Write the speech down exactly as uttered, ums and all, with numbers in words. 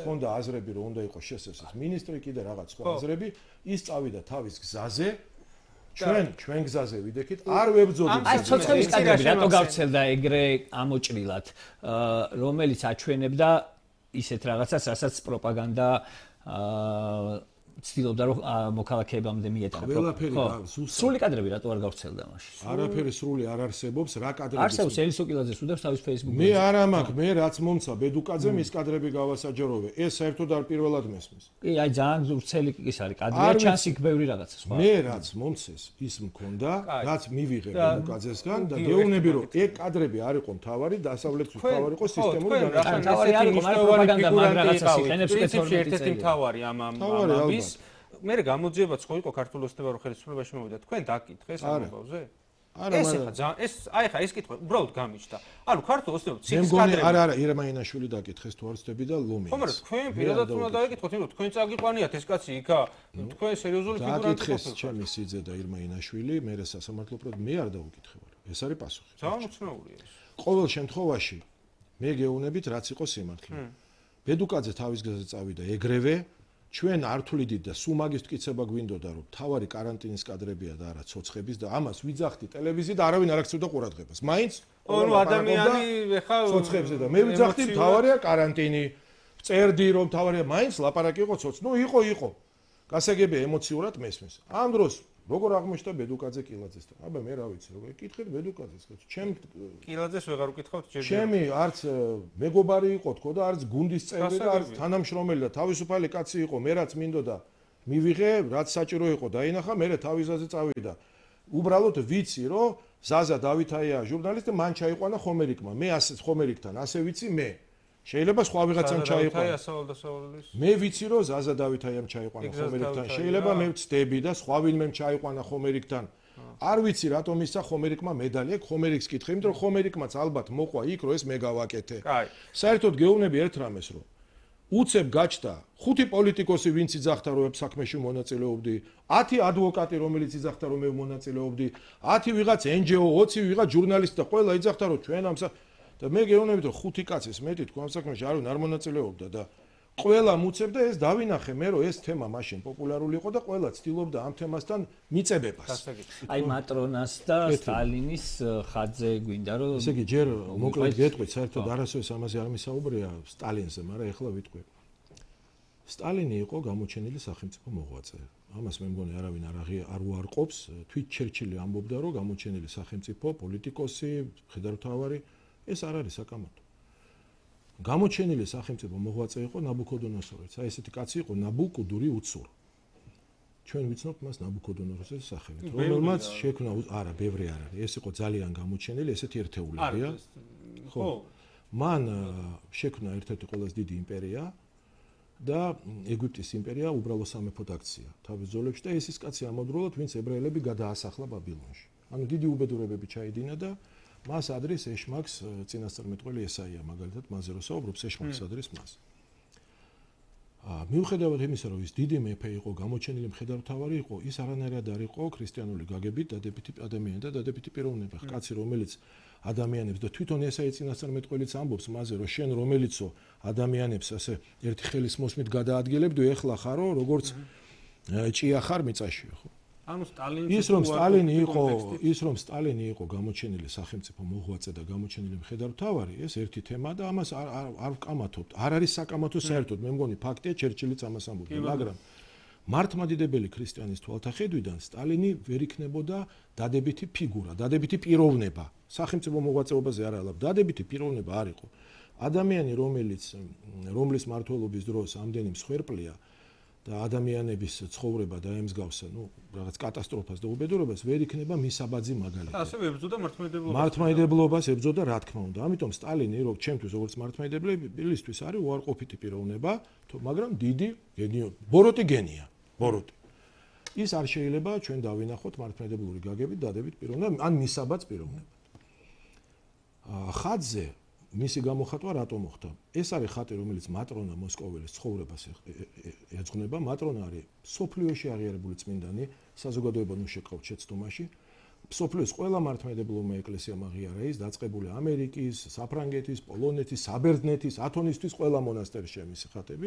ხონდა აზრები რომ უნდა იყოს შესაძლოა მინისტრი კიდე რაღაც სხვა აზრები ის წავიდა თავის გზაზე ჩვენ ჩვენ გზაზე ვიდექით არ ვებძოდით აი ცოცხლის კადრები რატო გავრცელდა ეგრე ამოჭრილად რომელიც აჩვენებდა ისეთ რაღაცას რასაც პროპაგანდა ცდილობდა რომ მოქალაქეებამდე მიეტანა. ყველაფერი სრული კადრები რატო არ გავრცელდა მაშინ? არაფერი სრული არ არსებობს, რა კადრები. არსებობს ელისო კილაძეს უდევს თავის Facebook-ზე. მე არ ამაქვს, მე რაც მომცა ბედუკაძემ ის კადრები გავასაჯაროვე. ეს საერთოდ არ პირველად მესმის. კი, აი ძალიან ზურცელი ის არის კადრია, ჩანს იქ ბევრი რაღაცა სხვა. მე რაც მომცეს, ის მქონდა, რაც მივიღე ბედუკაძესგან და გეუბნები რომ ეგ კადრები არ იყო მთავარი, დასავლეთის მთავარი იყო სისტემური განაცხადი. მთავარი არ იყო, მაგრამ პროპაგანდა მაგ რაღაცას იყენებს პრინციპში ერთ-ერთი მთავარი ამ ამის მე გამოძიებაც ხო იყო ქართულ ოსნებარო ხელისუფლებაში მოვიდა თქვენ დაკითხეს ამ ამბავზე? არა, ეს ხა ეს აი ხა ეს კითხვა უბრალოდ გამიჩნდა. ანუ ქართულ ოსნებარო ციკლის კადრები არა არა ირმაინაშვილი დაკითხეს თუ არ ვცდები და ლომი. ხომ არა თქვენ პირადად უნდა დაეკითხოთ, იმიტომ რომ თქვენ წაგიყვანიათ ეს კაცი იქა თქვენ სერიოზული ფიგურანტი დაკითხეს ჩემი სიძე და ირმაინაშვილი, მე სასამართლო პროდ მე არ დაუკითხებარ. ეს არის პასუხი. ძალიან უცნაურია ეს. ყოველ შემთხვევაში მე გეუბნებით რაც იყო სიმართლე. ბედუკაძე თავის გზაზე წავიდა ეგრევე ჩვენ არ თვლიდით და სულ მაგის მტკიცება გვინდოდა რომ თავარი კარანტინის კადრებია და არა ცოცხების და ამას ვიძახდი ტელევიზიით არავინ არ აქცევდა ყურადღებას. მაინც ორი ადამიანი ეხა ცოცხებზე და მე ვიძახდი თავარია კარანტინი. წერდი რომ თავარია მაინც ლაპარაკი იყო ცოცხ. ნუ იყო იყო. გასაგებია ემოციურად მესმის. ამ დროს როგორ აღმოჩნდა ბედუკაძე კილაძესთან? აბა მე რა ვიცი, როგორ კითხეთ ბედუკაძეს, ჩემ კილაძეს ვეღარ უკითხავთ ჯერ. ჩემი არც მეგობარი იყო თქო და არც გუნდის წევრი და არც თანამშრომელი და თავისუფალი კაცი იყო, მე რაც მინდოდა მივიღე, რაც საჭირო იყო დაინახა, მე თავისაზე წავიდა. უბრალოდ ვიცი რომ ზაზა დავითაია ჟურნალისტი, მან ჩაიყვანა ხომერიკმა. მე ასე ხომერიკთან ასე ვიცი მე. შეიძლება სხვა ვიღაცამ ჩაიყვანა. მე ვიცი რომ ზაზა დავითაიამ ჩაიყვანა ხომერიკთან. შეიძლება მე ვწდები და სხვა ვინმემ ჩაიყვანა ხომერიკთან. არ ვიცი რატომ ისა ხომერიკმა მედალი აქვს, ხომერიკს კითხე, იმიტომ რომ ხომერიკმაც ალბათ მოყვა იქ რომ ეს მე გავაკეთე. საერთოდ გეუბნები ერთ რამეს რომ უცებ გაჩნდა ხუთი პოლიტიკოსი ვინც იძახდა რომ საქმეში მონაწილეობდი, ათი ადვოკატი რომელიც იძახდა რომ მე მონაწილეობდი, ათი ვიღაც ენ ჯი ო, ოცი ვიღაც ჟურნალისტი და ყველა იძახდა რომ ჩვენ ამ და მე გეუბნებით რომ ხუთი კაცის მეტი თქვა ამ საქმეში არავინ არ მონაწილეობდა და ყველა მუცებდა ეს დავინახე მე რომ ეს თემა მაშინ პოპულარული იყო და ყველა ცდილობდა ამ თემასთან მიწებებას. აი მატრონას და სტალინის ხაძე გვინდა რომ ესე იგი ჯერ მოკლედ გეტყვით საერთოდ არასოდეს ამაზე არ მისაუბრია სტალინზე, მაგრამ ეხლა ვიტყვი. სტალინი იყო გამოჩენილი სახელმწიფო მოღვაწე. ამას მე მგონი არავინ არ უარყოფს. თვით ჩერჩილი ამბობდა რომ გამოჩენილი სახელმწიფო პოლიტიკოსი, მხედართმთავარი ეს არ არის საკამათო. გამოჩენილი სახელმწიფო მოღვაწე იყო ნაბუქოდონოსორიც. აი ესეთი კაცი იყო ნაბუკუდური უცურ. ჩვენ ვიცნობთ მას ნაბუქოდონოსორის სახელით, რომელმაც შექმნა არა, ბევრი არ არის. ეს იყო ძალიან გამოჩენილი, ესეთი ერთეულებია. ხო. მან შექმნა ერთ-ერთი ყველაზე დიდი იმპერია და ეგვიპტის იმპერია უბრალო სამეფოდ აქცია თავის ძოლებში და ეს ის კაცი ამავდროულად, ვინც ებრაელები გადაასახლა ბაბილონში. ანუ დიდი უბედურებები ჩაიდინა და მას ადრის ეშმაკს წინასწარმეტყველი ესაია მაგალითად მასზე რო საუბრობს ეშმაკს ადრის მას. აა მიუხედავად იმისა რომ ის დიდი მეფე იყო, გამოჩენილი მხედართმთავარი იყო, ის არანაირად არ იყო ქრისტიანული გაგებით დადებითი ადამიანი და დადებითი პიროვნება. კაცი რომელიც ადამიანებს და თვითონ ესაია წინასწარმეტყველიც ამბობს მასზე რომ შენ რომელიცო ადამიანებს ასე ერთი ხელის მოსმით გადაადგილებდი, ეხლა ხარო როგორც ჭია ხარ მიწაში, ხო? ანუ სტალინი ის რომ სტალინი იყო, ის რომ სტალინი იყო გამოჩენილი სახელმწიფო მოღვაწე და გამოჩენილი მხედართმთავარი, ეს ერთი თემა და ამას არ არ ვკამათობთ. არ არის საკამათო საერთოდ, მე მგონი ფაქტია, ჩერჩილიც ამას ამბობდა, მაგრამ მართლმადიდებელი ქრისტიანის თვალთახედვიდან სტალინი ვერ იქნებოდა დადებითი ფიგურა, დადებითი პიროვნება. სახელმწიფო მოღვაწეობაზე არ ალავ, დადებითი პიროვნება არ იყო. ადამიანი, რომელიც რომლის მმართველობის დროს ამდენი მსხვერპლია და ადამიანების ცხოვრება დაემსგავსა, ნუ რაღაც კატასტროფას და უბედურებას ვერ იქნება მისაბაძი მაგალითად. ასევე ებრძოდა მართლმადიდებლობას. მართლმადიდებლობას ებრძოდა რა თქმა უნდა. ამიტომ სტალინი რო ჩემთვის როგორც მართლმადიდებლისთვის არის უარყოფითი პიროვნება, მაგრამ დიდი გენიო, ბოროტი გენია, ბოროტი. ის არ შეიძლება ჩვენ დავინახოთ მართლმადიდებლური გაგებით დადებით პიროვნება, ან მისაბაც პიროვნება. ხაძე მისი გამოხატვა რატომ მოხდა? ეს არის ხატი, რომელიც მატრონა მოსკოველის ცხოვრებას ეძღვნება. მატრონა არის სოფლიოში აღიარებული წმინდანი, საზოგადოება ნუ შეკავთ შეცდომაში. სოფლიოს ყველა მართლმადიდებლურმა ეკლესიამ აღიარა ის, დაწყებული ამერიკის, საფრანგეთის, პოლონეთის, საბერძნეთის, ათონისთვის ყველა მონასტერში მისი ხატები.